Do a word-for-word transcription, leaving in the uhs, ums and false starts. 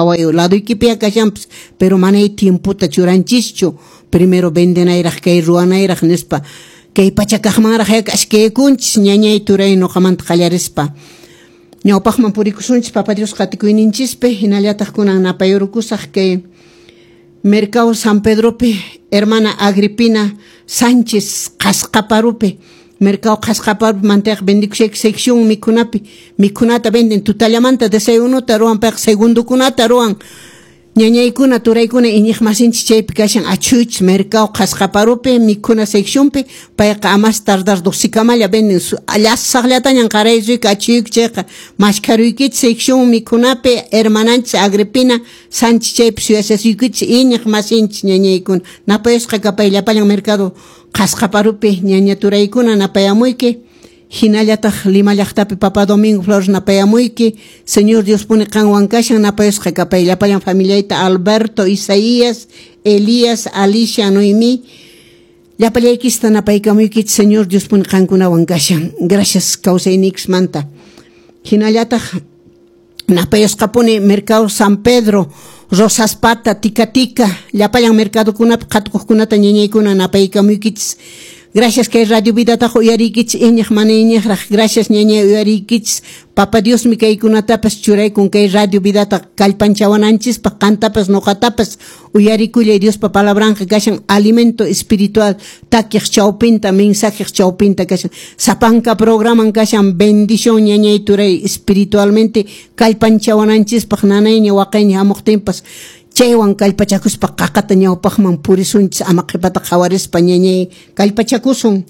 Qhaway laduykipiya kashanpas, pero manay tiempota churanchischu. Primero vendenayraq kay ruwanayraq nispa. Kay pachakaqmanraq ashkaykunchis ñañay turay nuqamanta qallarispa. Ñawpaqman purikusunchis Papa Dios qatikuyninchispi, hinallataq kunan napayurukusaq kay Mercado San Pedropi, hermana Agripina Sánchez Qasqaparupi. Mercado Qasqaparupi manteq vendikushayki sección mikhunapi, mikhunata venden tutallamanta desayunota ruwan payqa segundokunata ruwan. Ñañaykuna turaykuna iñiqmasinchis chaypi kashan achuychis Mercado Qasqaparupi mikhuna seccionpi, payqa a más tardar dosikamalla venden, llasaqllatañan qaraysuyki achuyki chayqa mashkharuykichis sección mikhunapi hermananchis Agripina Sánchez chaypi suyasasuykichis iñiqmasinchis ñañaykuna. Napayusqa kapay llapallan Mercado Qasqaparupi ñaña turaykuna napayamuyki. Hinallataq Lima llaqtapi Papa Domingo Flores napayamuyki. Señor Dios pone qanwan kashan napayusqa kapay llapallan familiayta Alberto, Isaías, Elías, Alicia, Noemí. Llapallaykista napaykamuykichis Señor Dios pone qankunawan kashan. Gracias kawsayniykismanta. Hinallataq napayusqapuni Mercado San Pedro, Rosas Pata, Tika Tika, llapallan mercadokunapi qhatukuqkunata ñañaykuna napaykamuykichis. Gracias kay Radio Vidataqa uyariykichis iñiq mana iñiqraq. Gracias ñañay uyariykichis. Papa Diosmi kaykunatapas churaykun kay Radio Vidata kallpanchawananchispaq, qantapas nuqatapas uyarikullay Diospa palabranqa kashan alimento espiritual takiq chawpinta, mensajeq chawpinta kashan. Sapanka programan kashan bendición ñañay turay espiritualmente kallpanchawananchispaq nanayña waqayña hamuqtinpas. Chaywan kallpachakuspa qaqata ñawpaqman purisunchis ama qhipata qhawarispa ñañay kallpachakusun.